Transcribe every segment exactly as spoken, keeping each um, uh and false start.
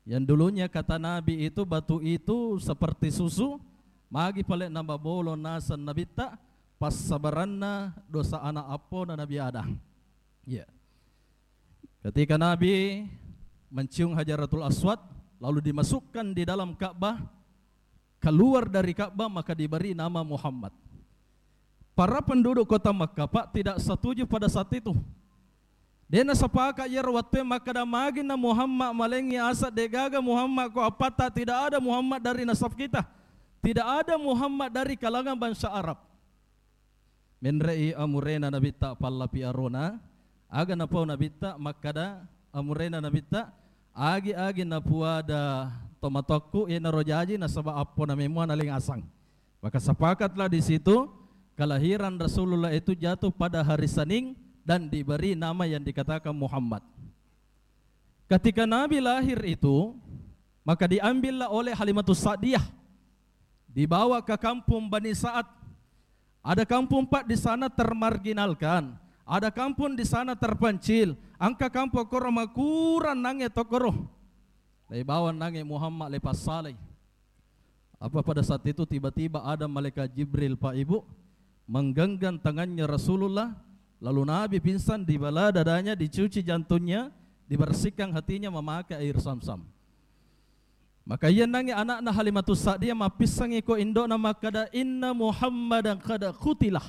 Yang dulunya kata Nabi itu, batu itu seperti susu, magi pale namabolong naseng Nabitta, passabaranna dosa anak appona Nabi Adam. Iya. Ketika Nabi mencium Hajaratul Aswad, lalu dimasukkan di dalam Ka'bah, keluar dari Ka'bah, maka diberi nama Muhammad. Para penduduk kota Makkah, Pak, tidak setuju pada saat itu. De'na sepakat iyaro wettué makkeda, "Magi na Muhammad malengngi asa, de'gaga Muhammad ko appatta, tidak ada Muhammad dari nasab kita. Tidak ada Muhammad dari kalangan bangsa Arab." Menre'i amurena Nabitta pallapi arona, aga napau Nabitta makkeda, amurena Nabitta, "Agi-agi napuada tomatoakku, iyanaro jaji, nasaba appona memua nalengngasang." Maka sepakatlah di situ, kelahiran Rasulullah itu jatuh pada hari Senin dan diberi nama yang dikatakan Muhammad. Ketika Nabi lahir itu, maka diambillah oleh Halimatus Sa'diyah, dibawa ke kampung Bani Sa'ad. Ada kampung, Pak, di sana termarginalkan, ada kampung di sana terpencil. Engka kampung koro makurang nangnge tokkoro. Laibawa nangnge Muhammad, laipassalai. Apa pada saat itu tiba-tiba ada malaikat Jibril, Pak Ibu, menggenggam tangannya Rasulullah, lalu Nabi pingsan, dibelah dadanya, dicuci jantungnya, dibersihkan hatinya memakai air Zamzam. Maka iya nangnge anakna Halimatus Sa'diyah mappissangi ko indo'na makkeda, "Inna Muhammadan qad qutilah."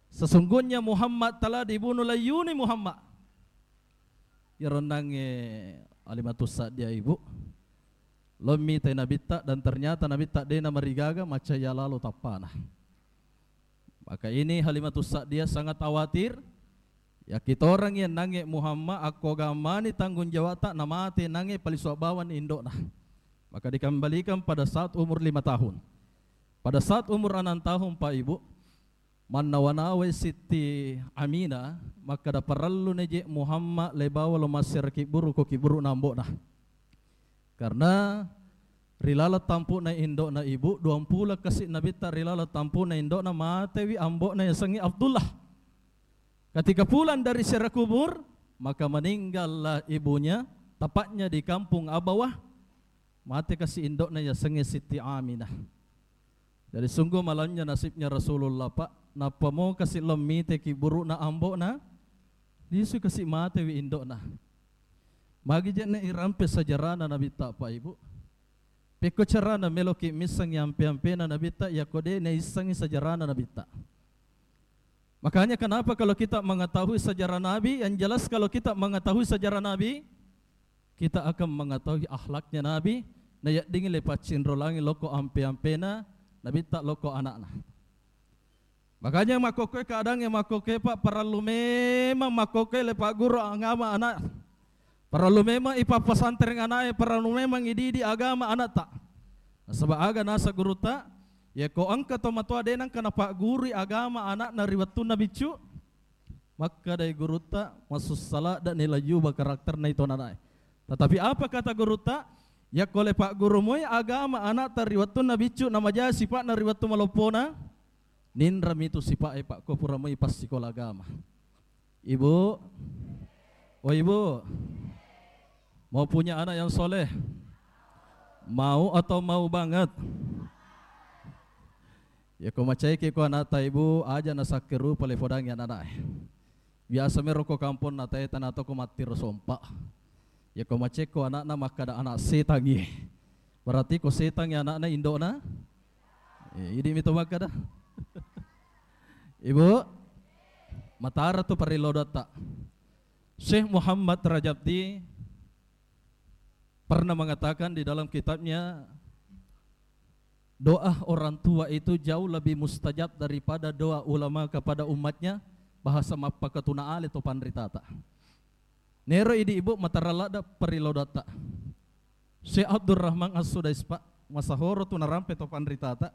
Sesungguhnya Muhammad telah dibunuh, laiyuni Muhammad. Iyaro nangnge Halimatus Sa'diyah, Ibu, lo mitai Nabitta, dan ternyata Nabitta de'na marigaga, macca iya lalo tappana. Maka ini Halimatus Sa'diyah sangat khawatir. Yakkitorang iya nangnge Muhammad, akko gammani tanggung jawabta, namate nangnge palisua bawang indo'na. Maka dikembalikan pada saat umur lima tahun. Pada saat umur enam tahun, Pak Ibu, mannawa-nawai Sitti Aminah, makkeda, "Parellu neje Muhammad laibawa lo massera kibburu ko kibburu'na ambo'na." Karena ri laleng tampu'na indo'na, Ibu, duampulo kasi Nabitta ri laleng tampu'na indo'na, matewi ambo'na yasengnge Abdullah. Ketika pulang dari ziarah kubur, maka meninggallah ibunya, tepatnya di kampung Abawah. Mate kasi indo'na yasengnge Sitti Aminah. Jadi sungguh malamnya nasibnya Rasulullah, Pak. Nappa mo kasi lo mite kibburu'na ambo'na, lisu kasi matewi indo'na. Magi je'ne irampe sejarahna Nabitta, Pak Ibu? Pekko carana meloki missengngi ampe-ampena Nabitta, yakko de' naissengngi sejarahna Nabitta. Makanya kenapa kalau kita mengetahui sejarah Nabi, yang jelas kalau kita mengetahui sejarah Nabi, kita akan mengetahui akhlaknya Nabi, nayaddingi le paccinrolangi loko ampe-ampena Nabitta, loko anakna. Makanya makkokkoe keadaangnge makkokkoe, Pak, parellu memang makkokkoe le pagguru agama anak. Parellu memang ipappasantreng anaknya, parellu memang ididi agama anakta. Nasaba aga nasa gurutta, yako engka tomatoa de' nengka napaggurui agama anakna ri wettunna biccu, makkedai gurutta, masussa ladde'ni lajjuba karakterna itu anakna. Tetapi apa kata gurutta? Yakko le pagguru moi agama anakta ri wettunna biccu, namaja sipa'na ri wettu maloppona, ninrami tu sipa'e, Pak, ko pura moi passikola agama. Ibu, oh Ibu, mau punya anak yang soleh? Mau atau mau banget? Yako macaiki ko anakta, Ibu, aja nasakkerupa le fodangi anak-anak. Biasa mero ko kampong na tae tana toko mattiro sompa. Yako macekko anakna makkada anak setangi. Berarti ko setangi anakna indo'na? Eh, idi mito makkada. Ibu, matara tu parellu doatta. Syekh Muhammad Rajabti pernah mengatakan di dalam kitabnya, doa orang tua itu jauh lebih mustajab daripada doa ulama kepada umatnya, bahasa mappakatuna ale to panritata. Nero idi ibu matara ladda parellu doatta. Syekh Abdurrahman As-Sudais, Pak, masahoro tu narampe to panritata.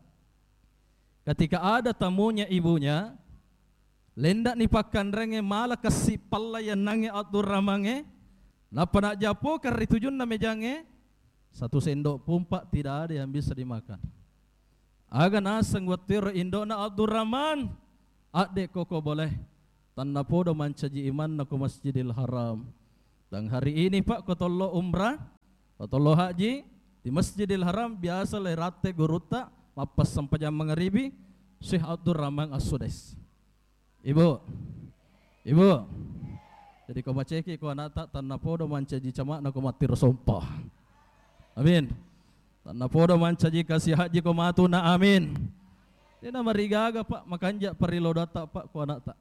Ketika ada tamunya ibunya, lendakni pakkanrengnge, mala kassi pallayennangnge Abdurrahmangnge, nappa najjapokeng ri tujunna mejangnge, satu sendok pun, Pak, tidak ada yang bisa dimakan. Aga naseng wettuero indo'na Abdurrahman, adde koko boleh, tannapodo mancaji imanna ko Masjidil Haram. Dan hari ini, Pak, ko tollo umrah, Patollo haji di Masjidil Haram biasa le ratte gurutta mappassempajang mangaribi, Syekh Abdurrahman As-Sudais. Ibu, ibu. Jadi ko maceki ko anakta, tanna podo mancaji cama'na ko mattiro sompa. Amin. Tanna podo mancaji kasi haji ko matuna. Amin. Dena marigaga, Pak, makanja parilodatta, Pak, ko anakta.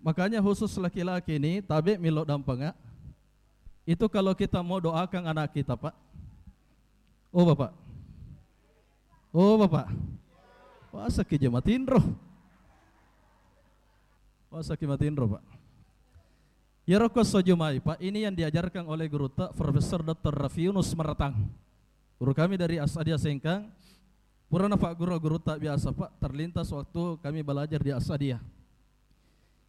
Makanya khusus laki-laki ini tabe milo dampanga. Itu kalau kita mau doakan anak kita, Pak. Oh, Bapak. Oh, Bapak. Wasaki je matinro. Wasaki matinro, Pak. Yaro ko sojumai, Pak, ini yang diajarkan oleh gurutta Profesor Doktor Rafiunus Maratang. Guru kami dari Asadia Sengkang. Purana Pak guru, gurutta biasa, Pak, terlintas waktu kami belajar di Asadia.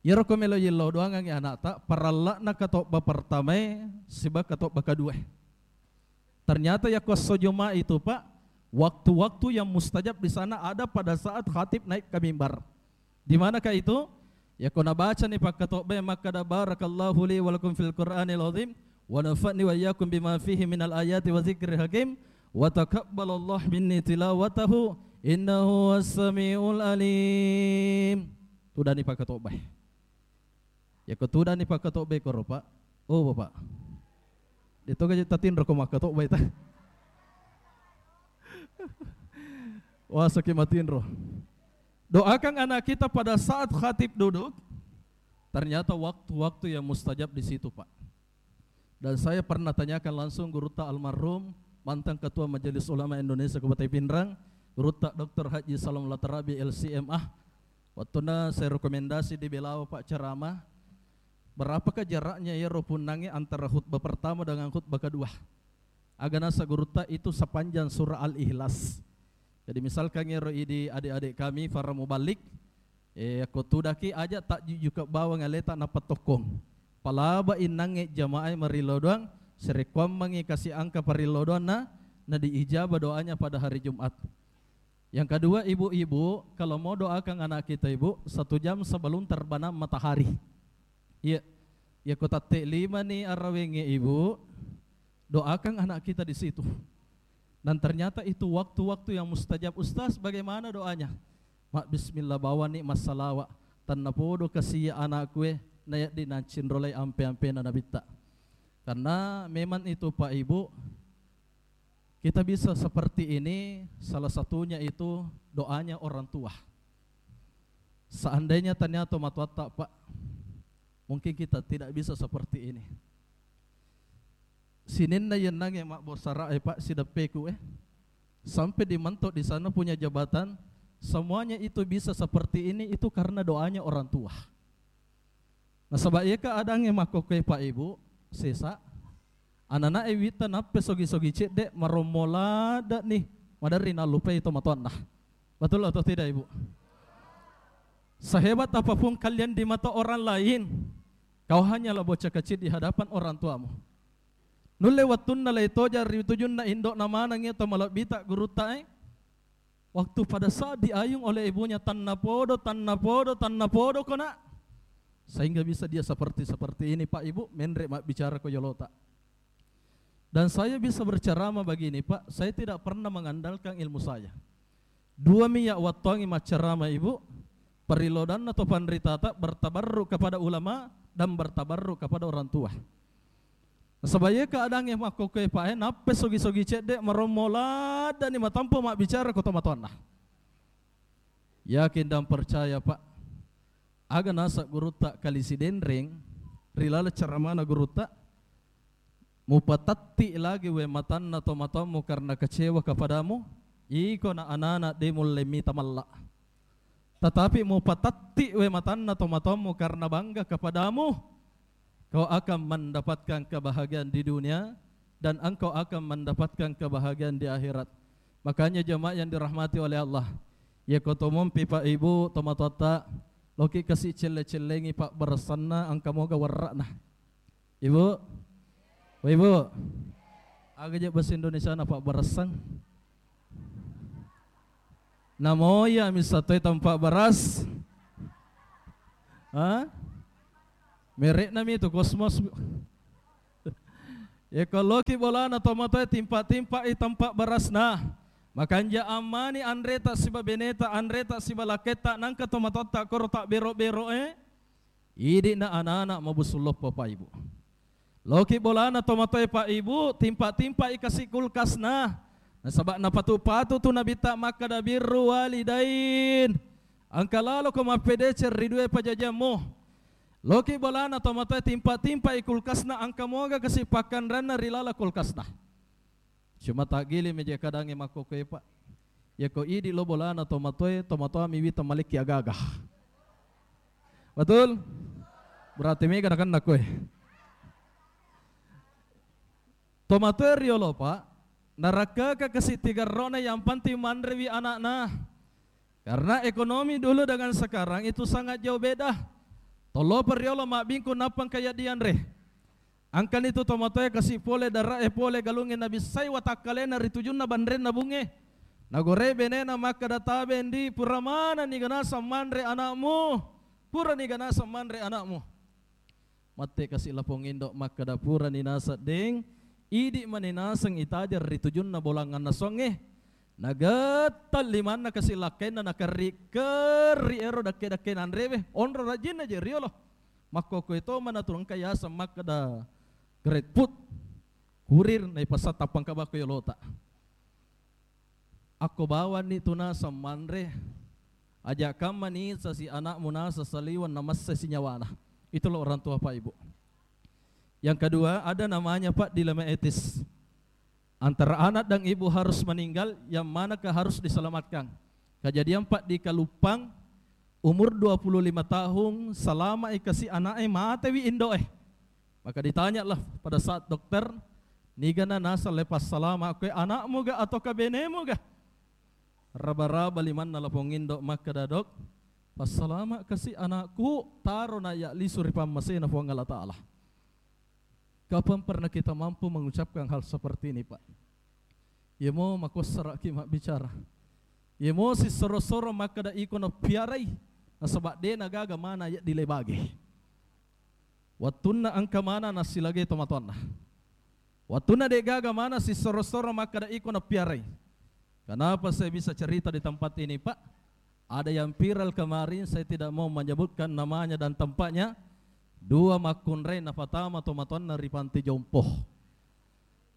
Iyaro ko melo yellau doangangngi anakta, paralla'na katobba pertamae siba katobba kaduae. Ternyata yakko esso Jumat itu, Pak, waktu-waktu yang mustajab di sana ada pada saat khatib naik ke mimbar. Di manakah itu? Yakko nabacani pakkatobbae makkada, "Barakallahu li wa lakum fil Qur'anil azim, wa nafa'ni wa iyyakum bima fihi minal ayati wa dzikril hakim, wa taqabbalallahu minni tilawatahu, innahu huwas samiul alim." Tudani pakkatobbae. Yakko tudani pakkatobbae koro, Pak. Oh, Bapak. Detoga je tatinro ko makkatobbae ta. Wasaki matinro. Doakan anak kita pada saat khatib duduk. Ternyata waktu-waktu yang mustajab di situ, Pak. Dan saya pernah tanyakan langsung gurutta almarhum, mantan Ketua Majelis Ulama Indonesia Kabupaten Pinrang, gurutta Doktor Haji Salam Latarabi, L C M A. Wattuna saya rekomendasi di Belawa, Pak, ceramah, berapakah jaraknya iyaro punnangnge antara khutbah pertama dengan khutbah kedua? Aga nasa gurutta, itu sepanjang surah Al-Ikhlas. Jadi misalkan iyaro idi adik-adik kami para mubalik, eh, yakko tudaki aja takjujuka bawang aleta nappa tokkong. Palaba innangnge jamaah marillau doang, sarekkuammengngi kasi angka parillau doanna, na diijabah doanya pada hari Jumat. Yang kedua, ibu-ibu, kalau mau doakan anak kita, Ibu, satu jam sebelum terbenam matahari. Iya, yakko tette lima ni arawengnge, Ibu, doakan anak kita di situ. Dan ternyata itu waktu-waktu yang mustajab. "Ustaz, bagaimana doanya?" "Mak bismillah, bawani massalawa. Tennapodo kasiya anakku e, nayaddi nancinrolai ampe-ampena Nabitta." Karena memang itu, Pak, Ibu, kita bisa seperti ini, salah satunya itu doanya orang tua. Seandainya tania tomatoatta, Pak, mungkin kita tidak bisa seperti ini. Sininna yennangnge mabbosara'e, Pak, sideppeku e, sampai di mentok di sana punya jabatan, semuanya itu bisa seperti ini, itu karena doanya orang tua. Nasaba iya keadaangnge makkokkoe, Pak, Ibu, sesa, anana'e witta nappe sogi-sogi cedde, marommo ladde'ni, maderri nallupai tomatoanna. Betul atau tidak, Ibu? Sehebat apapun kalian di mata orang lain, kau hanyalah bocah kecil di hadapan orang tuamu. Nulle wettunna leitoja ri tujunna indo'na maneng iya to malebbita gurutta e, waktu pada saat diayung oleh ibunya, "Tannapodo, tannapodo, tannapodo ko, Nak." Sehingga bisa dia seperti, seperti ini, Pak, Ibu, menre mabbicara ko yolota. Dan saya bisa berceramah begini, Pak, saya tidak pernah mengandalkan ilmu saya. Dua mi ya wattuangi maccarama, Ibu, parilodanna to panritata, bertabarruk kepada ulama dan bertabarruk kepada orang tua. Nasaba iya keadaangnge makkokkoe, Pak, e, nappe sogi-sogi cedde, marommo laddani matampu mabbicara ko tomatoanna. Yakin dan percaya, Pak, aga nasa gurutta Kali Sidenreng ri laleng ceramana gurutta, "Mupatatti lagi we matanna tomatoammu karena kecewa kepadamu, iko na anana de mulle mita malla. Tetapi mupatatti we matanna tomatoammu karena bangga kepadamu, kau akan mendapatkan kebahagiaan di dunia dan engkau akan mendapatkan kebahagiaan di akhirat." Makanya jamaah yang dirahmati oleh Allah, iya ko tomompi, Pak, Ibu, tomatoatta, loki kasi celle-cellengi pabbaressanna, engka moga werra'na. Ibu? Oh, Ibu? Aga je bahasa Indonesia na pabbaressang? Namo iya misa toi tampa baras? Ha? Merekna mi tu Cosmos. Yekko loki bolana tomatoe timpa-timpai tempa berasna, makanja ammani anreta siba beneta, anreta siba lakketta, nangka tomatoatta koro tabbero-beroe, idi'na anak-anak mabusung loppo, Pak Ibu. Loki bolana tomatoe, Pak Ibu, timpa-timpai kasi kulkasna. Nasaba napatu-patu tu Nabitta makkada, "Birru walidain." Engka laloko mappedeceng ri due pajajiammu. Loki bolana tomatoe timpa-timpai kulkasna, engka moga kasi pakkanranna ri laleng kulkasna. Cuma taggiling meje kadangnge makkokkoe, Pak. Yako idi lo bolana tomatoe, tomatoami wita malekki agaga. Betul? Berarti mega nakenna koe. Tomatoe riolo, Pak, narakkaka kasi tigerrona, yang penting manrewi anakna. Karena ekonomi dulu dengan sekarang itu sangat jauh beda. Tollopa riolo mabbingkung nappa engka yaddi anre. Engkani tu tomatoe kasi pole darae, pole galungnge, nabissai watakkalena ri tujunna banrenna bungnge. Nagore benena makkada, "Tabe ndi, pura manenni ganasang manre anakmu? Purani ganasang manre anakmu?" Matti kasi lapong indo makkada, "Purani naseng deng, idi mani naseng itajeng ri tujunna bolanganna songnge." Nagetta limanna kasi lakkainna, nakerri-kerri ero dakke-dakke nanrewe, onro rajinna je riolo. Makkokkoe to manatu engka yaseng makkada grade food, kurir, naipasang tappang kabakko yolota. Akko bawanni tu naseng manre, aja kamma nisasi anakmu naseng saliweng namassai sinyawana. Itulah orang tua, Pak Ibu. Yang kedua, ada namanya, Pak, dilema etis. Antara anak dan ibu harus meninggal, yang manakah harus diselamatkan? Kejadian, Pak, di Kaluppang, umur dua puluh lima tahun, selama ikasi anaknya, matewi indoe. Maka ditanyalah pada saat dokter, "Nigana naseng le passalama, koe anakmu ga atau kabenemu ga?" Raba-raba limanna lapong indo makkada, "Dok, passalama kasi anakku, taro na ya lisu ri pammasena Puang Allah Ta'ala." Kapan pernah kita mampu mengucapkan hal seperti ini, Pak? Yemo makossaraki mabbicara. Yemo sissoro-soro makkada iko napiarai, nasaba de nagaga mana ya dilebage. Wattunna engka mana nassilagai tomatoanna. Wattunna de'gaga mana sissoro-soro makkada iko napiarai. Kenapa saya bisa cerita di tempat ini, Pak? Ada yang viral kemarin, saya tidak mau menyebutkan namanya dan tempatnya. Dua makkunrai napatama tomatoanna ri panti jompo.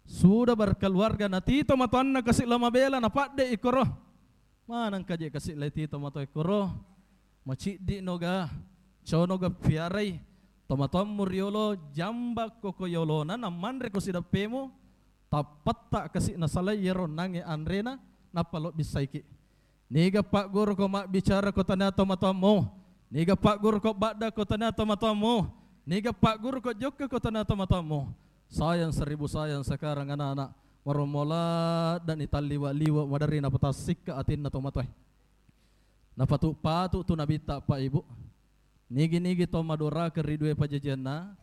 Sudah berkeluarga, nati tomatoanna kasi lo mabela, napadde ikoro. Maneng kaje kasi leti tomatoa koro, maciddi noga, cono ga piarai, tomatoammu riolo, jamba koko yolona, nammanre ko sidappemu, tappatta kasi nasalai yero nange anrena, nappa lo bissaiki. Niga pagguru ko mabbicara ko tania tomatoammu, niga pagguru ko badda ko tania tomatoammu, niga pagguru ko jokka ko tania tomatoammu. Sayang seribu sayang sekarang anak-anak. Marommo laddani talliwa-liwa maderri napatassikka atinna tomatoe. Napatu-patu tu nabitta, Pak Ibu. Nigi-nigi to madoraka ri due pajajianna,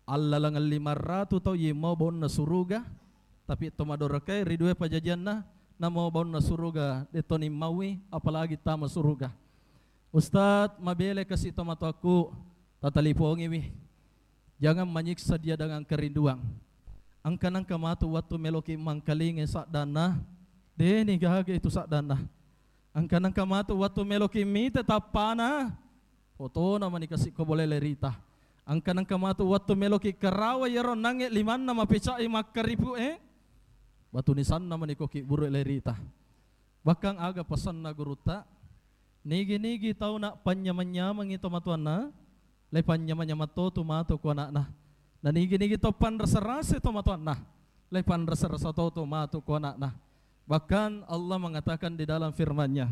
allaleng lima ratu tau yemmau baunna suruga, tapi to madorakai ri due pajajianna, namau baunna suruga, detto nimmaui, apalagi tama suruga. Ustaz, mabele kasi tomatoakku, tatalipongiwi. Jangan menyiksa dia dengan kerinduan. Engka nengka matu wettu meloki mangkalingai saddanna, deni gaga itu saddanna. Engka nengka matu wettu meloki mita tappana, fotona mani kasi ko bolele rita. Engka nengka matu wettu meloki karawa yero nange limanna mapecai makkaripu e, batu nisanna mani ko ki buru le rita. Bahkan aga pesanna gurutta, nigi-nigi tau na panyameng-nyamengi tomatoanna, le panyameng-nyameng to tu matu ko anakna. Na nigi-nigi tau panrasa-rasa tomatoanna, le panrasa-rasa to tu matu ko anakna. Bahkan Allah mengatakan di dalam firman-Nya,